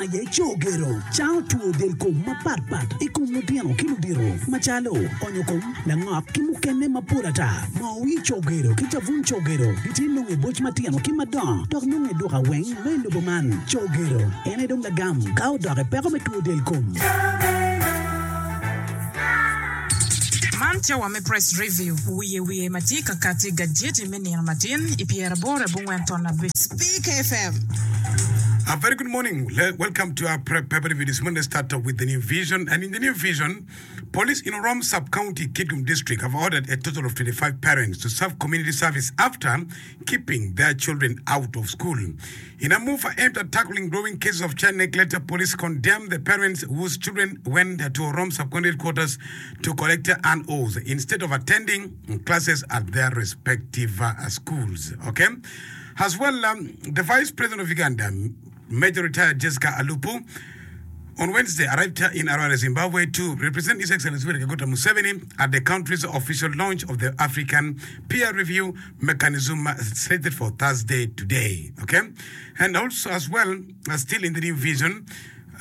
aye Cogero, cango two del kom mapat pat i kom lutino ki ludito macalo onyo kom, langok ki mukene mapol ata. Moo wir Cogero ki cabun Cogero gitye nongo i boc matino ki madongo dok nongo i duka weng ma i lobo man. Cogero en aye dong lagam ka odok i peko me two del kom. Man cawa me Press Review, wiye wiye ma tye ka kati i gajeti me nino matin i pyeraboro abongwen ton abic. Speak FM. A very good morning. Welcome to our prep paper review this morning. Let's start with the new vision. And in the new vision, police in Orom sub-county, Kitgum district, have ordered a total of 25 parents to serve community service after keeping their children out of school. In a move aimed at tackling growing cases of child neglect, police condemned the parents whose children went to Orom sub-county headquarters to collect NOs instead of attending classes at their respective uh, schools. Okay? As well, um, the Vice President of Uganda, Major Retired Jessica Alupo, on Wednesday arrived in Harare, Zimbabwe to represent His Excellency Yoweri Kaguta Museveni at the country's official launch of the African Peer Review Mechanism slated for Thursday today. Okay? And also as well, uh, still in the new vision,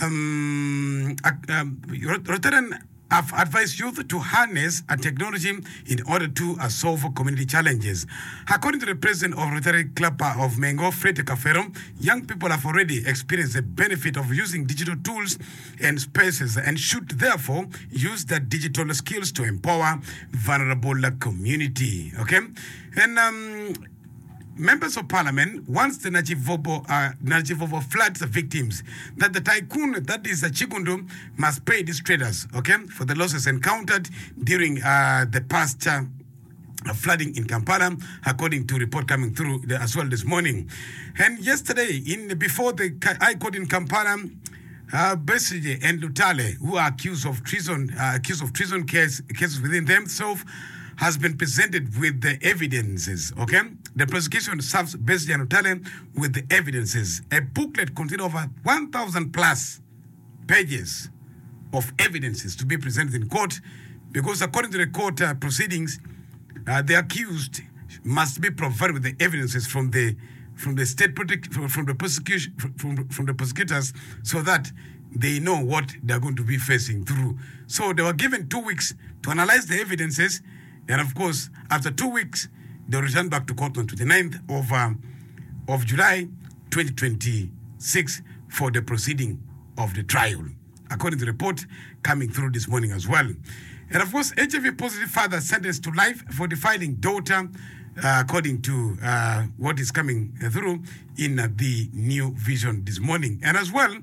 um, uh, um, Rotarian have advised youth to harness a technology in order to uh, solve community challenges. According to the president of Rotary Club of Mengo, Fred Cafero, young people have already experienced the benefit of using digital tools and spaces and should therefore use their digital skills to empower vulnerable community. Okay? And um, Members of Parliament wants the Nakivubo, uh, Nakivubo floods victims that the tycoon that is Kiggundu must pay these traders, okay, for the losses encountered during uh, the past uh, flooding in Kampala, according to report coming through the, as well this morning. And yesterday, in before the High Court in Kampala, uh, Besigye and Lutale, who are accused of treason, uh, accused of treason case, cases within themselves, has been presented with the evidences. Okay, the prosecution serves Besigye and Lutale with the evidences. A booklet containing over 1,000 plus pages of evidences to be presented in court, because according to the court uh, proceedings, uh, the accused must be provided with the evidences from the from the state protect, from the prosecution from, from the prosecutors so that they know what they are going to be facing through. So they were given two weeks to analyze the evidences, and of course, after two weeks, they returned back to court on 29th of, um, of July 2026 for the proceeding of the trial, according to the report coming through this morning as well. And of course, HIV positive father sentenced to life for defiling daughter, uh, according to uh, what is coming through in uh, the New Vision this morning. And as well,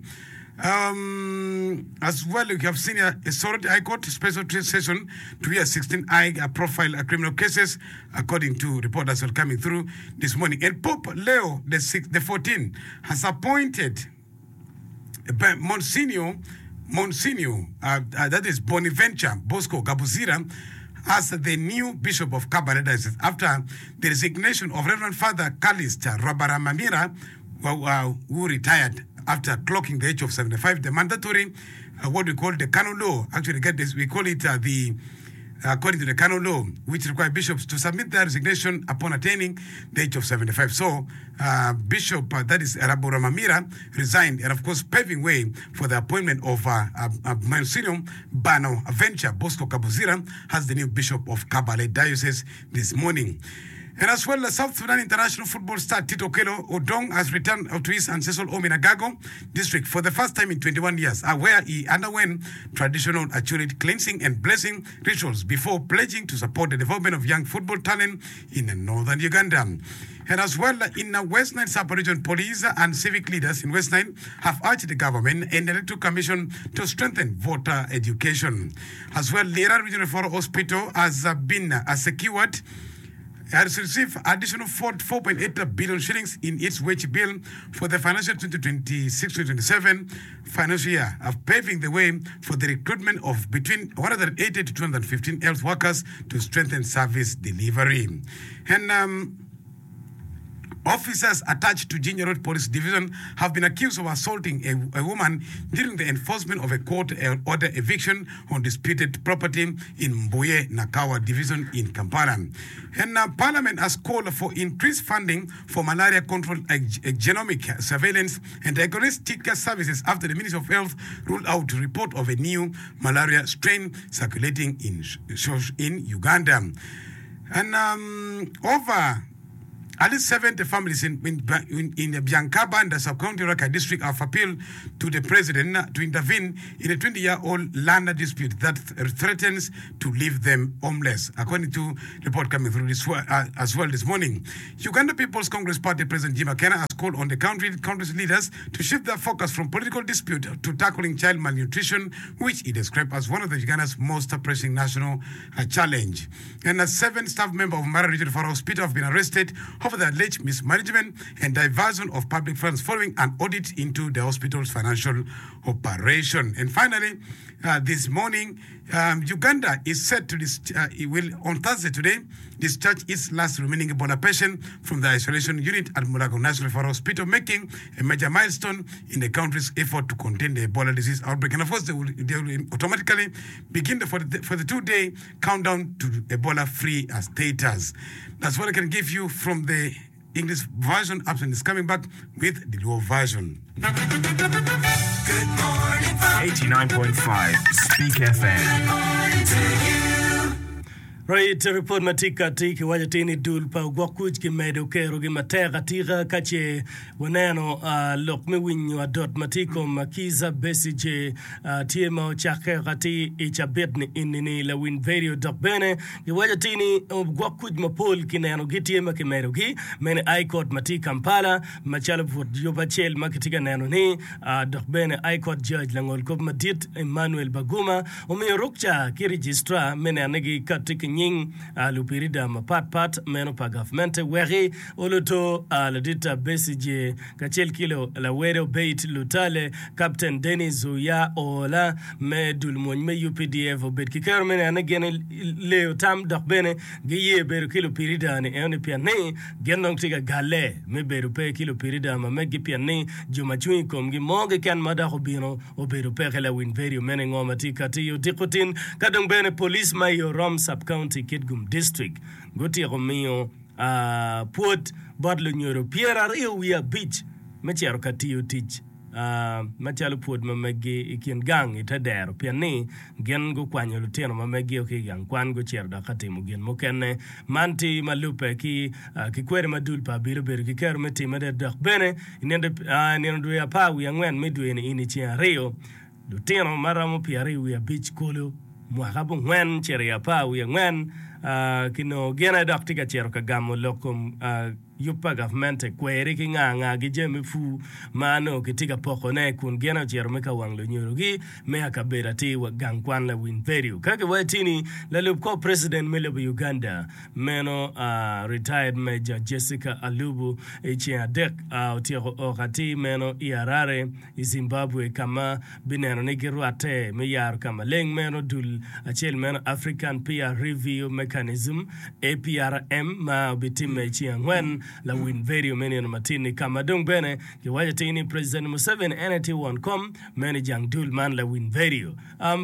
um, as well, we have seen a, a Soroti High Court special session to hear 16 high profile criminal cases, according to report that's coming through this morning. And Pope Leo the, six, the 14 has appointed Monsignor, Monsignor, uh, uh, that is Bonaventure Bosco Gabuzira, as the new Bishop of Kabale Diocese after the resignation of Reverend Father Callist Rubaramira, uh, who retired after clocking the age of 75. The mandatory, uh, what we call the canon law, actually get this, we call it uh, the according to the canon law, which require bishops to submit their resignation upon attaining the age of 75. So, uh, Bishop, uh, that is Rubaramira, resigned, and of course, paving way for the appointment of uh, uh, uh, Monsignor Bano Venture Bosco Kabuzira as the new bishop of Kabale Diocese this morning. And as well, the South Sudan international football star Tito Okello Odong has returned to his ancestral home in Agago district for the first time in 21 years, uh, where he underwent traditional Achurit cleansing and blessing rituals before pledging to support the development of young football talent in northern Uganda. And as well, in the West Nile sub-region, police and civic leaders in West Nile have urged the government and the Electoral Commission to strengthen voter education. As well, Lira Regional Referral Hospital has uh, been uh, secured has received additional 4.8 billion shillings in its wage bill for the financial 2026-2027 financial year, of paving the way for the recruitment of between 180 to 215 health workers to strengthen service delivery. And um, Officers attached to Jinja Road Police Division have been accused of assaulting a, a woman during the enforcement of a court order eviction on disputed property in Mbuye Nakawa Division in Kampala. And uh, Parliament has called for increased funding for malaria control, genomic surveillance, and diagnostic services after the Ministry of Health ruled out report of a new malaria strain circulating in, in Uganda. And um, over At least 70 families in, in, in, in the Biankabanda sub-county Rakai district have appealed to the president to intervene in a 20-year-old land dispute that th- threatens to leave them homeless, according to report coming through this, uh, as well this morning. Uganda People's Congress Party President Jim Akena has called on the country, country's leaders to shift their focus from political dispute to tackling child malnutrition, which he described as one of the Uganda's most pressing national uh, challenge. And a seven staff member of Mara Region Referral Hospital have been arrested over the alleged mismanagement and diversion of public funds following an audit into the hospital's financial operation. And finally, uh, this morning, um, Uganda is set to dis- uh, it will on Thursday today discharge its last remaining Ebola patient from the isolation unit at Mulago National Referral Hospital, making a major milestone in the country's effort to contain the Ebola disease outbreak. And of course, they will, they will automatically begin the 42-day countdown to Ebola-free status. That's what I can give you from the English version. Absent is coming back with the Luo version. 89.5 Speak FM. Right, ripot ma tye kati kiwaco atir ni dul pa ogwok kuc kimedo kerogi matek atika ka ce waneno uh, lok me winyo adot ma tye i kom Kizza Besigye uh, tye ma ocakke atir i cabit ni ini ni lawiny vedio dok bene giwaco atir ni ogwok kuc mapol kineno gitye ma kimedogi mene I court ma tye i Kampala Macalo but yub acel ma kitye ka neno ni dok bene High Court Judge langolkop madit Emmanuel Baguma omiyo rukca ki Registrar me neno ni gikatti ki nying lupirida mapat pat meno pa gavmente weki oluto ladit Besigye kacel ki lawede Obeid Lutale, Captain Denis Uya Oola me dul mwony me UPDF obed ki kero me neno ni gin leyo tam dok bene Giye bedo ki lupirida-ni enoni pien ni gin dong tye ka galle me bedo pe ki lupirida ma meggi pien ni jo ma cung i komgi mo keken ma dok obino obedo peke. Lawiny vedio meno i ngo ma tye kati i odiko tin ka dong bene police ma i Orom Sub-County Kitgum District gutyeko miyo pwod bot lunyodo pyeraryo wiye abic me cito ka tiyo tic macalo pwod ma meggi i kin gang i te dero pien ni gin gukwanyo lutino ma meggio ki i gang kwan gucito dok ka timo gin mukene. Man tye ma lubbe ki ki kwede ma dul pa abili obedo ki kero me time dok bene i nino dwe apar wiye angwen me dwe-ni ini ceng aryo lutino ma romo pyeraryo wiye abic kulu mwaka abongwen cito i apar wiye angwen kinongo gin aye dok tye ka cito ka gamo lok kom Yub pa gavmente kweri ki nga nga gi jami me pur ma nongo kitye ka poko ne kun gin ocito me ka wang lunyodogi me akabedo atir wa gang kwan lawiny vedio. Ka kiwaco tini lalub kor president me lobo Uganda meno retired Major Jessica Alubu i ceng adek otyeko ok atir meno i Harare i Zimbabwe ka ma bineno ni girwatte me yaro ka maleng meno dul acel meno African Peer Review Mechanism, APRM, ma obitimme i ceng angwen lawiny vedio me nino matin-ni ka ma dong bene kiwaco atir ni President Museveni en aye tye won kom meno i jang dul man lawiny vedio.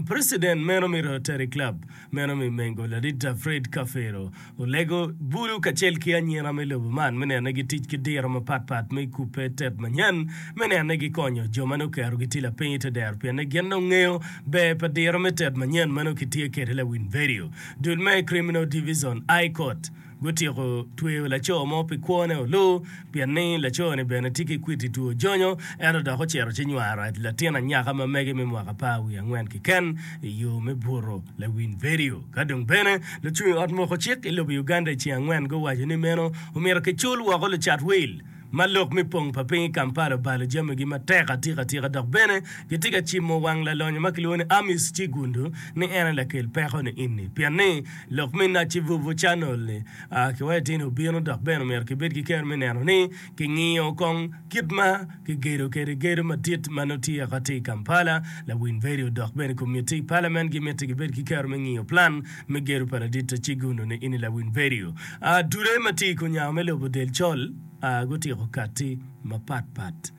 President meno me Rotary Club meno me Mengo Ladit Fred Kafero Olego bulu kacel ki anyira me lobo man me neno ni gitic ki diro mapat pat me kubbe tet manyen me neno ni gikonyo jo ma nongo kerogi tye lapiny i te dero pien ni gin dong ngeyo ber pa diro me tet manyen ma nongo kitye kwede lawiny vedio. Dul me Criminal Divison I Court gutyeko tweyo laco mo pi kwone olu pien ni laco-ni bene tye ki kwiti two jonyo ento dok ocito ci nywaro latin anyaka ma mege me mwaka apar wiye angwen keken i yo me buto lawiny vedio. Ka dong bene, lucung i ot moko cik i lobo Uganda i ceng angwen guwaco ni meno omyero kicul woko lucat wil ma lok me pong pa piny i Kampala obalo jamigi matek atika atika dok bene gitye ka cimo wang lalonyo ma kilwongo ni Amis Kiggundu ni en aye lakel peko ni ini pien ni lok me Nakivubo Channel ni kiwaco atir ni obino dok bene omyero kibed ki kero me neno ni kingiyo kong kit ma Kigedo kwede gedo madit ma nongo tye akati i Kampala. Lawiny vedio dok bene komitti i palament gimiti gibed ki kero me ngiyo plan me gedo pa ladit Kiggundu ni ini lawiny vedio. Dude ma tye i kunyango me lobo del col. Gutyeko katti mapat pat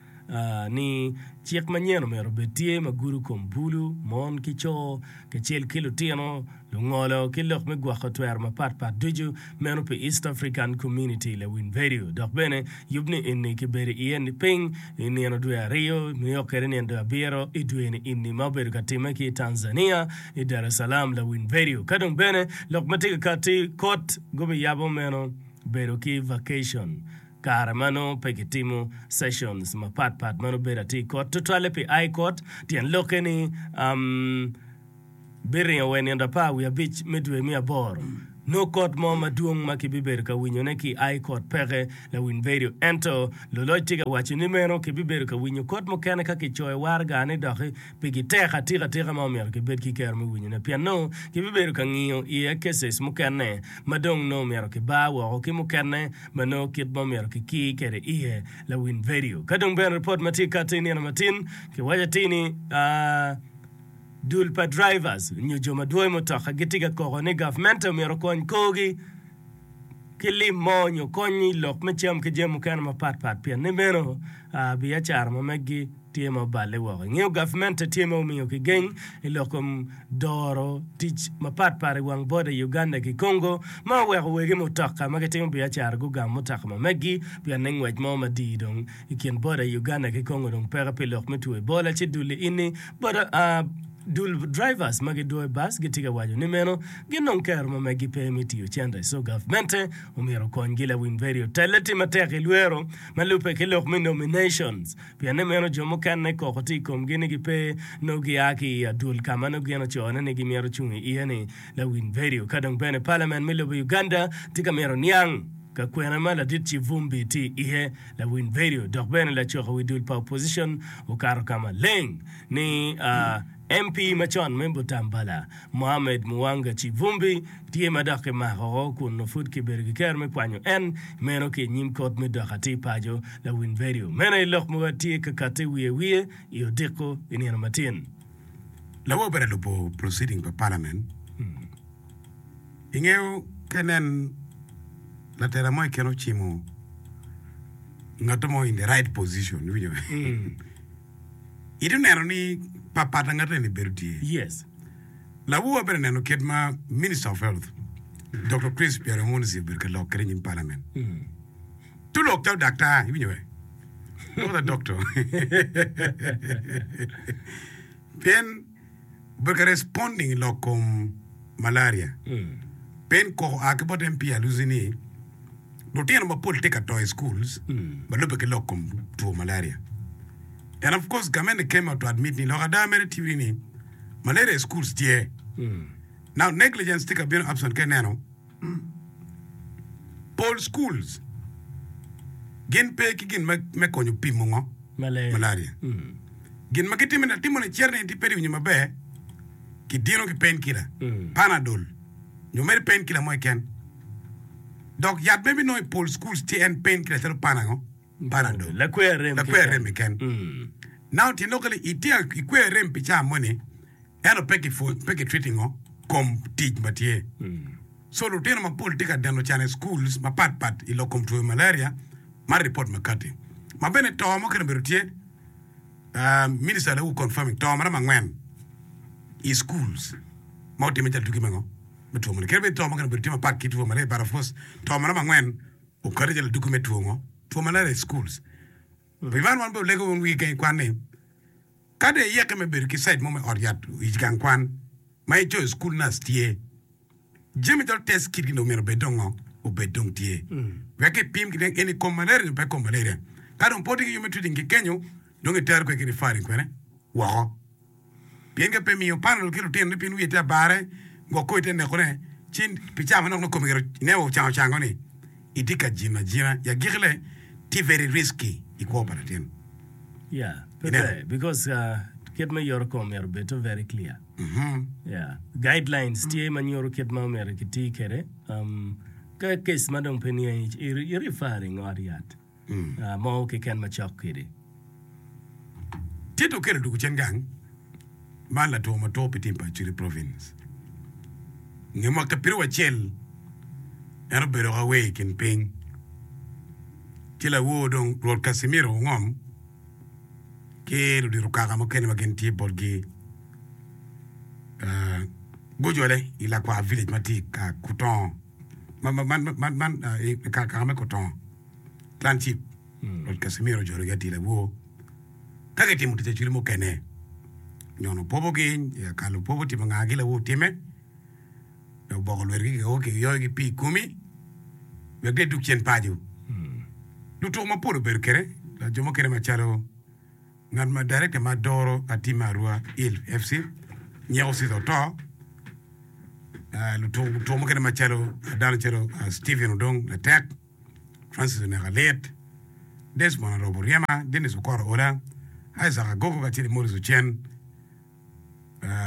ni cik manyen omyero obed tye ma gudo kom bulu, mon ki co, kacel ki lutino, lungolo ki lok me gwoko twero mapat pat ducu meno pi East African Community lawiny vedio. Dok bene yub ni eni kibedo iye niping i nino dwe ariyo nio kwede nino dwe abiro i dwe ni eni ma obedo ka time ki i Tanzania i Dar es Salaam lawiny vedio. Ka dong bene lok ma tye ka katti kot gubiyabo meno bedo ki vacation kare ma nongo pe kitimo sessions mapat pat ma nongo bedo atir i kot tutwalle pi High Court tyen lokke ni um, biringo wa i nino apar wiye abic me dwe me aboro nongo kot mo madwong ma kibibedo ka winyone ki i High Court peke lawiny vedio ento luloc tye ka waco ni meno kibibedo ka winyo kot mukene ka kicoyo waraga ni doki Pigi tek atika atika ma omyero kibed ki kero me winyone pien nongo kibibedo ka ngiyo iye cases mukene ma dong nongo myero kibar woko ki mukene ma nongo kit ma omyero kikir kwede iye lawiny vedio. Ka dong bene ripot ma tye kati nino matin kiwaco atir ni dul pa drivers nyo jo ma dwoyo mutoka gitye ka koko ni gavmente omyero okony korgi ki lim mo nyo kony i lok me cam ki jami mukene mapat pat pien ni meno biacara ma meggi tye ma oballe woko. Ingeyo gavmente tye ma omiyo kigeng i lok kom doro tic mapat pat i wang boda i Uganda ki Congo ma oweko wegi mutoka ma gitimo biacara gugamo mutoka ma meggi pien ni ngwec mo madii dong i kin boda i Uganda ki Congo dong peke pi lok me two Ebola ci dul ini boda dul drivers ma gidwoyo bus gitye ka waco ni meno gin dong kero ma meggi pe me tiyo cente so gavmente omyero okonygi lawiny vedio telle tye matek i lwero ma lubbe ki lok me nominations. Pien ni meno jo mukene koko tye i komgi ni gipe nongo gia ki i adwol ka ma nongo gin ocone ni gimito cung iye ni lawiny vedio. Ka dong bene Parliament me lobo Uganda tye ka mito niang ka kwene ma ladit Kivumbi tye iye lawiny vedio dok bene lacoko wi dul pa opposition okato ka maleng ni MP macon me Butambala, Mohammed Muwanga Kivumbi tye ma dok kimako kun nongo pud kibedo ki kero me kwanyo en meno ki i nyim kot me dok atir paco. Lawiny vedio meno aye lok ma tye ka katte wiye wiye i odiko i nino matin. Lawo obedo lubo proceeding pa parliament. Ingeyo ka inen latela mo keken ocimo ngat mo in the right position, iwinjo? Itye neno ni papat angat eni bedo tye. Yes. Lawowa bene neno kit ma Minister of Health, Doctor Chris Byaruhunzi obedo ka lok kwede i nyim Parliament. Tu lok calo daktar, iwinjo be? Lok calo doctor. Pien obedo ka responding i lok kom malaria. Pien koko oa ki bot MP Alusi ni Lutino mapol tye ka to i schools ma lubbe ki lok kom two malaria. And of course gamente came out to admit ni lok ada mere tye ni malaria i schools tye. Now negligence tye ka bino absent ka ineno pol schools gin pe ki gin me konyo pimo ngo? Malaria. Gin ma gitimo ni atimo ni cito ni pe winyo maber kidino ki pain killer, panadol nyo mere pain killer mo keken. Dok yat ma ibinongo i pol schools tye en pain killer calo panango? Panadol. Lakwe arem Lakwe arem keken. Now tyen lok ni itye ikwe arem pi caa moni ento pe ki pe ki treating-o kom tic ma tye. So lutino mapol tye ka deno can i schools mapat pat i lok kom two malaria man report ma kati. Ma bene to mukene obedo tye minister lawu confirming to maromo angwen i schools ma otime calo tuki me ngo? me two moni. Kadi bed to mukene obedo tye mapat ki two malaria but of course to maromo angwen okati calo aduki me two ngo? Two malaria i schools. Pi man wan bene olego wun wigi keny kwan ni ka dong iyeke me bedo ki site mo me ot yat i gang kwan ma icoyo school nurse tye, jami calo test kit gi dong myero obed dong ngo? Obed dong tye. Wek kipim ki eni kom malaria nyo pe kom malaria. Ka dong pe otye ki yo me treating ki kenyo dong itero kwede ki referring kwene woko. Pien ka pe miyo panadol ki lutinone pien wiye tye abare, gwok kor tye nekone, ci pi cawa manok nongo kome gire ineno ocango cango ni itye ka jino ajina i agikile tye very risky i kwo pa latin. Yeah, pe Ineno? ber because uh, kit me yoro kom myero obed to very clear. Yeah, guidelines tye ma nyuto kit ma omyero kiti kwede. Um, ka case ma dong pe niangi i referring ot yat. mo keken macok kwede. Tito okelo dwogo cen gang man latwo ma two pi tim pa Acholi Province. Nge mwaka piru acel en obedo ka wer i kin piny. Ci lawor dong Rwot Casimiro ongom ki ludito kaka mukene ma gin tye botgi gujole i Lakwar village ma tye i Kutongo man i kaka me Kutongo clan chief Rwot Casimiro ojologi atir lawor ka gitimo tic acwali mukene nyono pobogi kalo pobo timo nga gi lawor time. Oboko lwetgi kiyoyogi pii i komi wek gidug cen paco. Lutuku mapol obedo kwede, jo mukene macalo ngat ma director ma doro team me Arua Hill FC Nyeko Caesar Oto, lutuku mukene macalo dano calo Steven Odong Latek, Francis Oneka Lit, Desmond Arobo Ryema, Dennis Okoro Ola, Isaac Agogo kacel ki Maurice Ocen.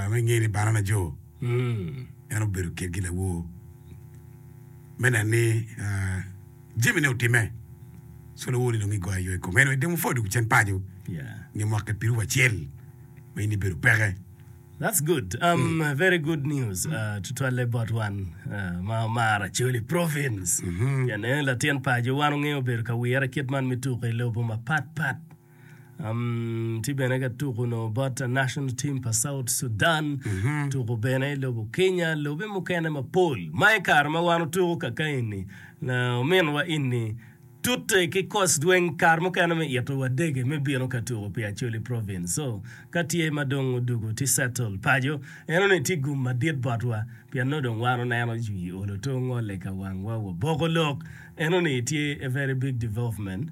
Me nge ni Banana Joe en obedo kitgi lawor me neno ni jamine otimme so lawor ni dong igoyo ayo i kome anyway dong pwod dwogo cen paco nge mwaka piru acel ma in ibedo peke. That's good. Um, mm. Very good news. Uh, tutwalle bot wan uh, ma omaro Acholi province. Mm -hmm. Pien en latin paco wan ongeyo bedo ka wire kit man me tuko i lobo mapat pat. Tye bene ka tuko onongo bot national team pa South Sudan, tuko bene i lobo Kenya, lobe mukene mapol. Ma i kare ma wan otuko kaka eni, ominwa eni tute ki koc dweng kare mukene me ito wa dege me bino ka tuko pi Acholi province. So ka tye ma dong odugo tye settle paco, enoni tye gum madit botwa pien nongo dong wan oneno jwi olo to ngole ka wangwa waboko lok. Enoni tye a very big development.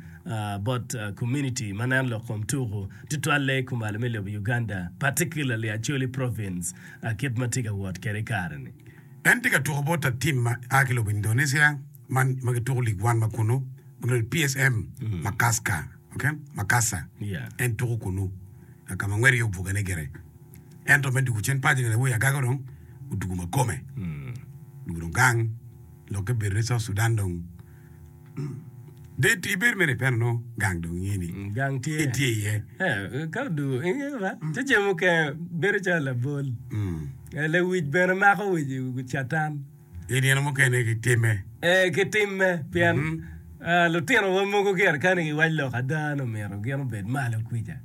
bot community ma neno lok kom tuku tutwalle kumalo me lobo Uganda particularly Acholi province kit ma tye ka wot kwede i kare ni. En tye ka tuko bot tim ma a ki lobo Indonesia man ma gituko League One ma kunu ma kilwongo ni PSM Makassar, okay? Makassar. Yeah. En tuko kunu ka ma ngwec aye obugane gire. Ento me dugo cen paco ni awobi agaga dong odugo ma kome. Odugo dong gang lokke bedo ni South Sudan dong Date ibedo mere ipeno nongo gang dong inge ni Gang tye. itye iye. Eh, ka odugo inge ba ci jami mukene bedo calo labol. Eh, lewic bene mako wic catan. I nino mukene kitime. Eh, kitime pien eh, lutinowa mogo gire kani giwac lok ada ni omyero gin obed malo kwica.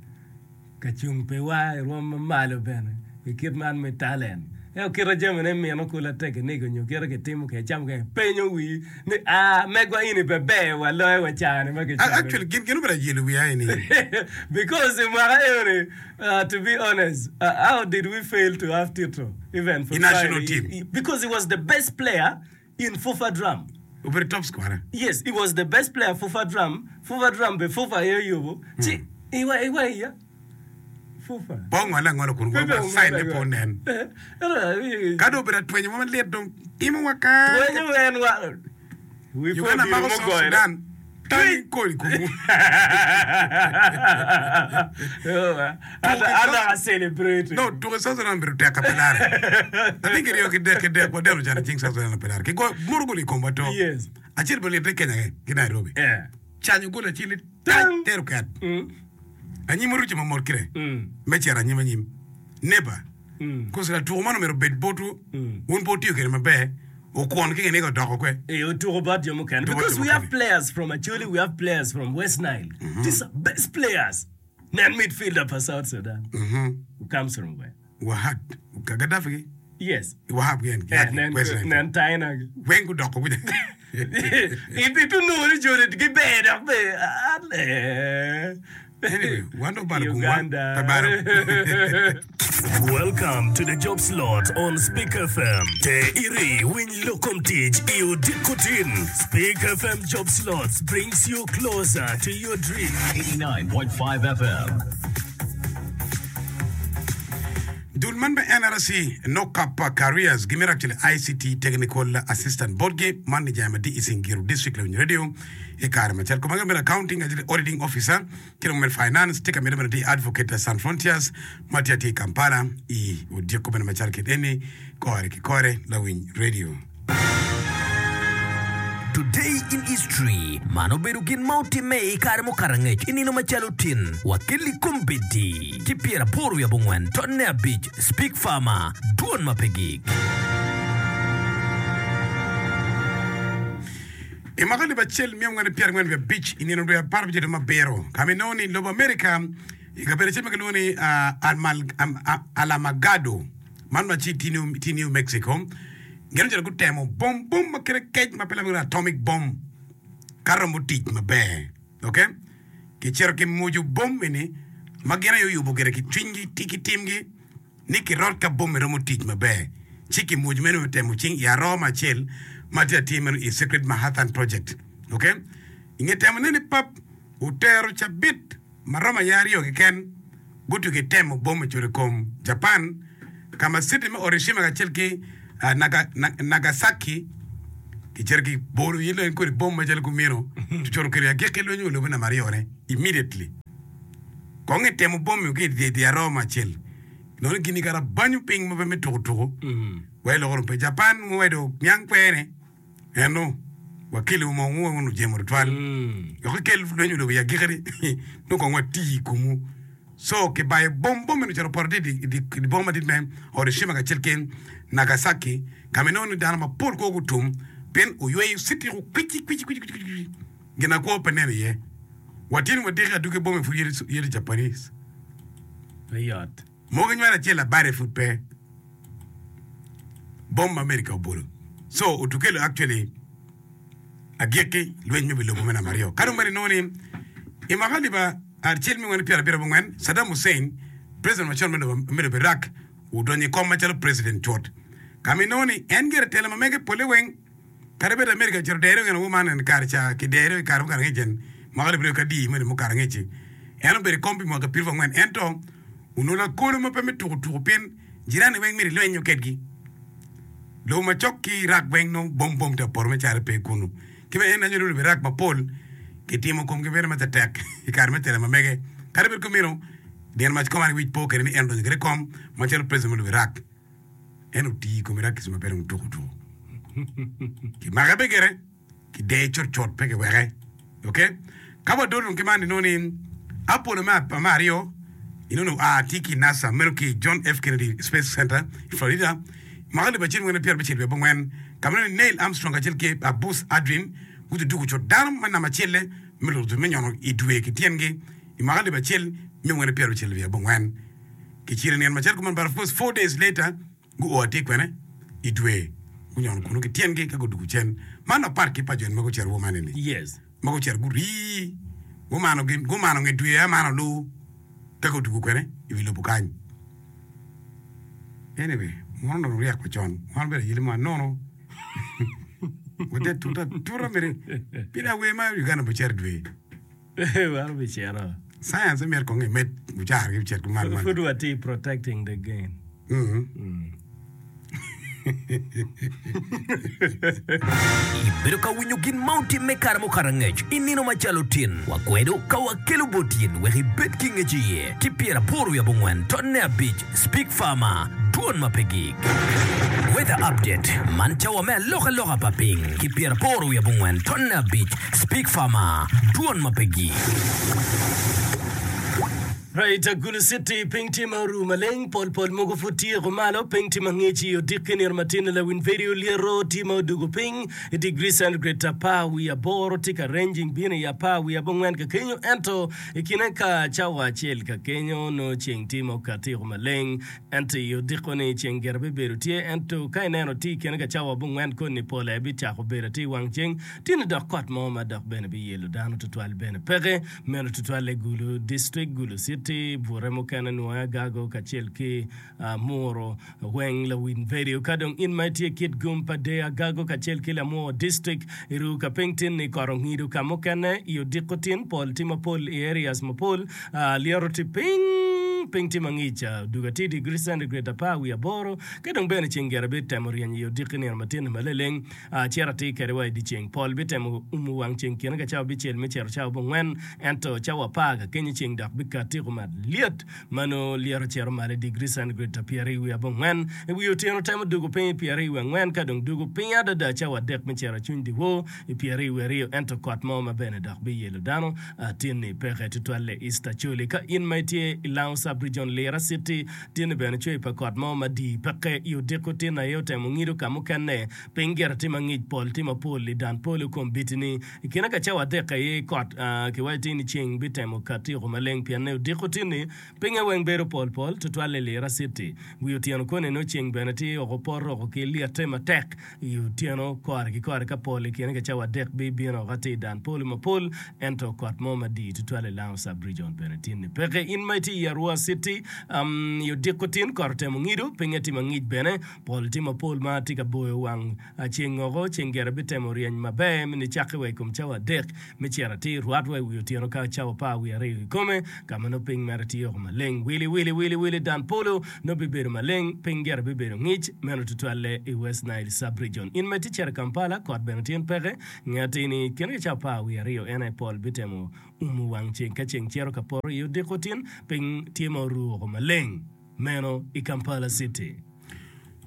Ka cung piwa i rwom ma malo bene i kit man me talent. Ento kite jamine mino kula tekinik onyo kite kitimo kede ca mukene penyo wii ni aa megwa ini pe ber wa loyo wa cani ma kicamo ni. Actually gin gin obedo ayelo wiya eni. Because i mwaka eno ni to be honest how did we fail to have Tito even for I national trial team. because he was the best player in Fufa Drum. Obedo top scorer. Yes, he was the best player Fufa Drum, Fufa Drum be Fufa aye oyubo ci iwa iwa iya Fufa. Pe ongole angola kun Pe wa ongole sign ne pe angola. onen. Ento Ka dong obedo atwenyo mo malit dong timo wa kany. Twenyo en wa wi po Uganda odilo mako South mugoyone. Sudan Tang kodi kumu. An a celebrate. No, tuko South Sudan obedo tek ka pe lare. I think kiryo ki dek ki dek wadeno can i cing South Sudan pe lare. Ki go muru gol i komwa to. Yes. Acel pe litte Kenya ki ki Nairobi. Yeah. Canyo gol acel ni tang tero ket. Anyim oruco ma mot kire. Me cito anyim anyim. Neighbor. Koso latuko man omyero obed botwu, wun pe wutiyo kwede maber, okwon ki kiniga odoko kwe. Ee, otuko bot jo mukene. Otuko bot Because jo we have mukene. players from Acholi, we have players from West Nile. These are best players. Nen midfielder pa South Sudan. Who comes from where? Wahad, ka Gaddafi gi, Yes. Wahab gi en, Eh, nen, West Nile. nen Taina gi. Weng gudoko kuca. Ito nongo ni joni giber dok be ale. Anyway, wan dong obalo gumwa, Uganda. pe balo. Welcome to the job slot on Speak FM. Te iri winy lok kom tic i odiko tin. Speak FM job slots brings you closer to your dream. 89.5 FM. Dul man me NRC, Nokap Careers, gimito actually ICT Technical Assistant botgi man i jami ma tye i Singiro District Lawiny Radio i kare macalo koma gin obedo Accounting kacel ki Auditing Officer ki dong me Finance tye ka mito bene tye Advocate Sans Frontiers ma tye atir i Kampala i odiko bene macalo kit eni kore ki kore Lawiny Radio. Today in History, Man obedo gin ma otimme i kare mukato angec i nino macalo tin wa kelli kombeddi ki pyeraboro wiye abongwen tonne abic Speak Farmer, Dwon ma pe gik. I mwaka alip acel miya 445 i nino dwe 17 dwe me abiro, ka ma inongo ni lobo Amerika i kabedo acel ma kilwongo ni Alamogordo, man ma tye i New Mexico, gin ocito gutemo bom bom ma kite kec ma pe lame atomic bomb ka romo tic maber. Ok, kicito kimuco bom eni ma gin aye oyubo gire ki cwinygi ki timgi. ni kirot ka bom romo tic maber, ci kimwoc meno me temo cing i aroo me acel ma tye atir meno i Secret Manhattan Project. Ok. I nge temone ni pap otero cabit ma romo aye aryo keken, gutugi temo bom ocodo i kom Japan, ka ma citi me Orishima kacel ki Nagasaki kicito kibolo iye lweny kodi bom macalo kumeno, tucoto kede agikki lweny wa lobe namba aryone immediately. Kong itemo bomi ki i dye aroo me acel. Nono gini kara banyo piny ma pe me tuko tuko. Wai loko dong pe Japan muwedo niang kwene. Eno wakeli mo mo wun ojemo tutwal. Wek ikel lweny olobo i agikki nongo kong wati i komwu. So kibayo bom bom meno ocito opoto i dye boma madit me Hiroshima kacel ki Nagasaki ka ma inongo ni dano mapol kwo gutum pien oyweyo citi-ku kwici kwici kwici. Ginakwo pe nen iye. Watyen wadiki aduki bome pud yeto Japanese. Pe yot. Mogo nywalo acel labade pud pe. Bom ma America obolo. So otukelo actually agikki lweny me wi lobo me namba aryo. Ka dong bene inongo ni i mwaka alip acel miya angwen pyerabiro abongwen Saddam Hussein president macon me lobo Iraq odonyo i kom macalo president cut. Ka ma inongo ni en gire telo ma mege pole weng Kadi bed Amerika ocito dere gin man en kare ca ki dere i kare mukato angec en mwaka alip aryo ki adi meno mukato angec-ci. En obedo i kom pi mwaka pyeraryo angwen ento onongo lakolo ma pe me tuko tuko pien jirani weng myero ilwenyo kedgi. Lobo macok ki Iraq weng nongo bom bom tye ka poto me calo pe kunu. Ki bene en anyo lobo Iraq mapol kitimo komgi bedo ma tetek i kare me tela ma mege. Kadi bed kumeno, nino mac kom an wic po kwede ni en odonyo kwede i kom macalo president me lobo Iraq. En otiyo i kom Iraqis ma pe dong tuko tuko. Kimake be gire, kideye cutcut pe kiweke. Ok? Ka wadol dong ki man inongo ni Apollo me me aryo inongo ni oa tye ki i NASA meno ki i John F. Kennedy Space Center i Florida mwaka alip acel mwene pyerabicel wiye abongwen ka ma inongo ni Neil Armstrong kacel ki Buzz Aldrin gutuduko cut dano me namba acel-le me luto me nyono i dwe ki tyengi i mwaka alip acel miya mwene pyerabicel wiye abongwen. Kicito i nino macalo kuman but of course 4 days later guo atir kwene i dwe gunyono kunu ki tyengi ka gudwogo cen. Man apat ki pa jo ma gucito woman eni Yes. ma gucito gurii gumano gin gumano nge dwe amano lu ka gudwogo kwene i wi lobo kany. Anyway, wan onongo ryek wa con wan obedo ayili mo anono wate tuta atuta mere pien awer ma Uganda pe cito i dwe. Wan obicito. Science myero kong imed mucara gi ocit kumal man. Pud watye protecting the gain. Ibedo ka winyo gin ma otimme kare mukato angec i nino macalo tin. Wakwedo ka wakelo bot in wek ibed ki ngec iye. Ki pyeraboro wiye abongwen tonne abic Speak Farmer, Dwon ma pe gik. Weather Update, Man cawa me alokaloka pa piny ki pyeraboro wiye abongwen tonne abic Speak Farmer, Dwon ma pe gik. Right, Gulu City, piny tye ma oru maleng, pol pol mogo pud tye kumalo, piny tye ma ngic i odiki nino matin lawiny vedio lyeto tye ma odugo piny i degree centigrade apar wiye aboro tye ka ranging bino i apar wiye abongwen ka kenyo ento I kine ka cawa acel ka kenyo nongo ceng tye ma okatti oko maleng, ento i odiko-ni ceng gire bibedo tye. Ento ka ineno tye i kine ka cawa abongwen koni pol aye bicako bedo atir i wang ceng, tye-ni dok kot mo ma dok bene biyelo dano tutwal bene peke. Meno tutwalle Gulu District, Gulu City, bute mukene nwoya Agago kacel ki Amuro weng lawiny vedio. Ka dong in ma itye kit gum pa deyo Agago kacel ki Lamwor District iru ka piny tin ni kot ongido ka mukene i odiko tin pol tye mapol i areas mapol lyeto tye piny piny tye mangic odugo atir degree centigrade apar wiye aboro ka dong bene ceng gire bitemo ryeny i odiki nino matin ni maleleng cito atir kede wa i dye ceng pol bitemo umo wang ceng kine ka cawa abicel me cito cawa abongwen ento cawa apar ka kenyo ceng dok bikati malyet ma nongo lyeto cito malo i digri centigrade pyeraryo wiye abongwen. I wi otyeno temo dwogo piny i pyeraryo wiye angwen ka dong dwogo piny adada cawa adek me cito acwiny dyewor i pyeraryo wiye aryo. Ento kot mo ma bene dok biyelo dano tin-ni peke tutwalle East Acholi. Ka in ma itye i Lango Sub. Sub-Region Lira City tye-ni bene cwer pa kot mo madii peke i odiko tin aye otemo ngido ka mukene. Piny gire tye mangic, pol tye mapol i dan polo kombitini. I kine ka cawa adek aye kot kiwaco tye ni ceng bitemo kati oko maleng pienne odiko tin-ni pinye weng bedo pol pol tutwal i Lira City. Wi otyeno koni nongo ceng bene tye oko poto oko ki lyette matek i otyeno kore ki kore ka pol i kine ka cawa adek bibino oko atir dan polo mapol ento kot mo madii tutwal i Lango Sub Region bene tin-ni peke. In ma itye i Arua City i odiko tin kot otemo ngido pinye tye mangic bene Pol tye mapol ma tye ka boyo wang ceng woko. Ceng gire bitemo ryeny maber mi nicakke wa i kom cawa adek me cito atir rwat wa i wi otyeno ka cawa apar wiye aryo kikome, ka ma nongo piny mere tye woko maleng wili wili wili wili. Dan polo nongo bibedo maleng, piny gire bibedo ngic, meno tutwalle i West Nile Sub-region. In ma itye cito i Kampala, kot bene tyen peke. Nge atir ni i kine ki cawa apar wiye aryo en aye pol bitemo umo wang ceng ka ceng cito ka poto i odiko tin, piny tye ma oru woko maleng. Meno i Kampala City.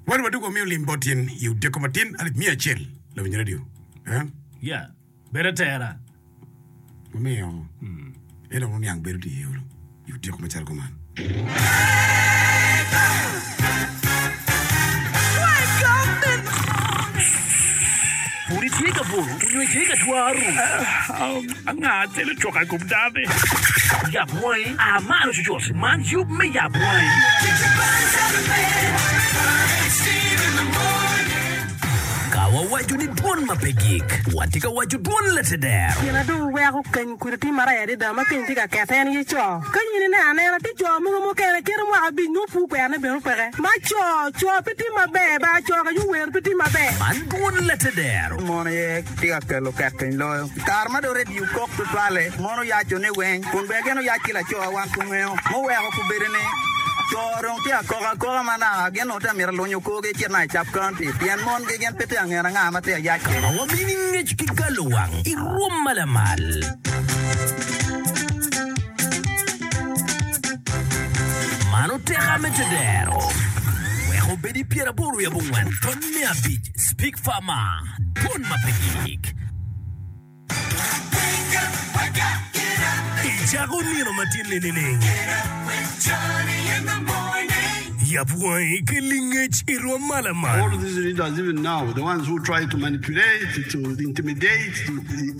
Wan wadwogo wamiyo lim bot in i odiko matin alip miya acel lawiny radio. Eh? Yeah. Bed atera. Wamiyo en dong oniang bedo tye iye olo i odiko macalo kuman. Pud itye ka buto onyo itye ka twaro? Anga telo coka i kom dano-ni? Yab wangi, a malo cucut! Man yub me Yab Wangi. Ka wawaco ni dwon ma pe gik, watye ka waco dwon lateder. Gin na dong weko keny kudi tye marac adada ma keny tye ka kete en aye co. Ka in ineno anena tye co mogo mukene kite mwaka abic nongo pur kwerone bene peke. Ma co, co pe tye maber ba co ka yuwer pe tye maber. Man dwon lateder. Mon aye tye ka kelo ket piny loyo. I kare ma dong redio kok tutwalle, mon oyaco ni weng, kun bene gin oyac ki laco wan pe ongeyo. Muweko kobedo ni co dong tye ka kok akoka ma naka gin onongo tye ka mito lunyo korgi ecit naka i Cap County pien mongi gin pe tye ka ngene anga ma tye ka yac kwede. Ma wamini ngec ki galowang i rwom ma lamal. Man oteka me tedero. Wek obed i pyeraboro wiye abongwen tony me abic Speak Farmer, Dwon ma pe gik. Icako nino matin-ni nining? Yab wangi ki lingec i rwom ma lamal. All these leaders even now, the ones who try to manipulate, to intimidate,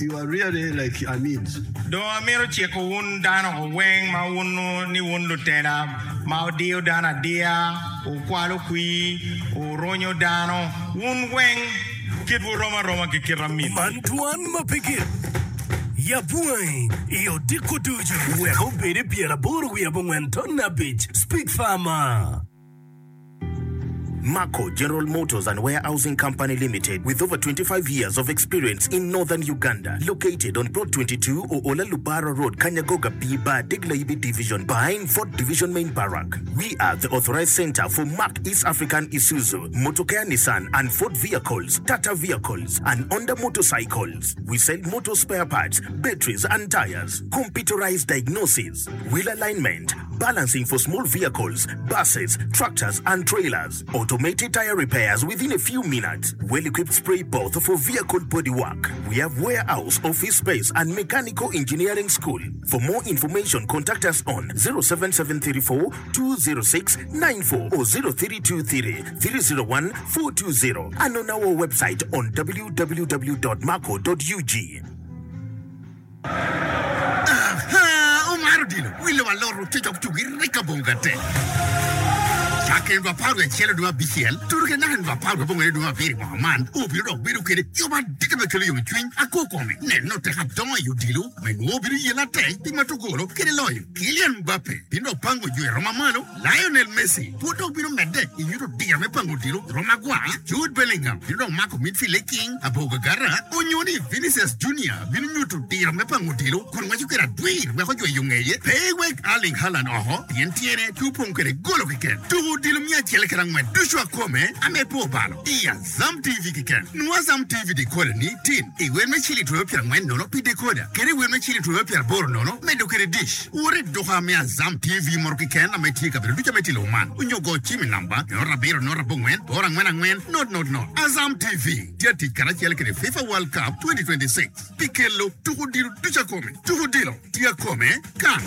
you are really like Amids. Dong amito ciko wun dano weng ma wunnu ni wun lutela ma wudiyo dano adiya, wukwalo kwir, wurunyo dano, wun weng kitwu rom aroma ki kit amit. Man twan ma pe gik. Yab wangi i odiko ducu. Wek obed i 85 ton abic. Speak Farmer. Marco General Motors and Warehousing Company Limited with over 25 years of experience in Northern Uganda located on Plot 22 Oola Lubara Road Kanyagoga B Bar Degla-Ibi Division behind Fort Division Main Barrack. We are the authorized center for Mack East African Isuzu, Motokea Nissan and Ford vehicles, Tata vehicles and Honda motorcycles. We sell motor spare parts, batteries and tires, computerized diagnosis, wheel alignment, balancing for small vehicles, buses, tractors and trailers, automated tire repairs within a few minutes, well-equipped spray booth for vehicle body work. We have warehouse, office space and mechanical engineering school. For more information contact us on 07734 206 94 or 0323 301 420 and on our website on www.marco.ug. Aha! Omaro odilo wi lobo alot otic ok tugi rik abongo gate. Cakke nino 11 dwe me abicel tudo ki naka nino 19 dwe me abiro i mwaka man, obino dok bedo kede yub adita me kelo yomcwiny akwo kome. Nen nongo tek adongo i odilo ma inongo obino yelle atek pi mato golo kede loyo. Kylian Mbappe bino dok pango jo i rom mamalo. Lionel Messi pud dok bino medde i nyuto diro me pango odilo i rom agwar, Jude Bellingham bino dok mako midfield i king abor gagara, onyo ni Vinicius Junior bino nyuto diro me pango odilo kun ngweco kwede adwir wek ojwe yo ngeye. Pe iwek Erling Haaland oko pien tyene pe opong kwede golo keken. Tuko odilo miya acel kede angwen ducu akome ame pe obalo i Azam TV keken. Nwo Azam TV decoder ni tin i wel me ciling twero 40 nono pi decoder kede i wel me ciling twero 80 nono medo kwede dish. Wot i duka me Azam TV moto keken ame tye i kabedo ducu ame tye i lobo man onyo go cim i namba 0 7 0 8 4 4 0 0 0. Azam TV tye atic karacel kede FIFA World Cup 2026 pi kelo tuko odilo ducu akome. Tuko odilo tye akome kan.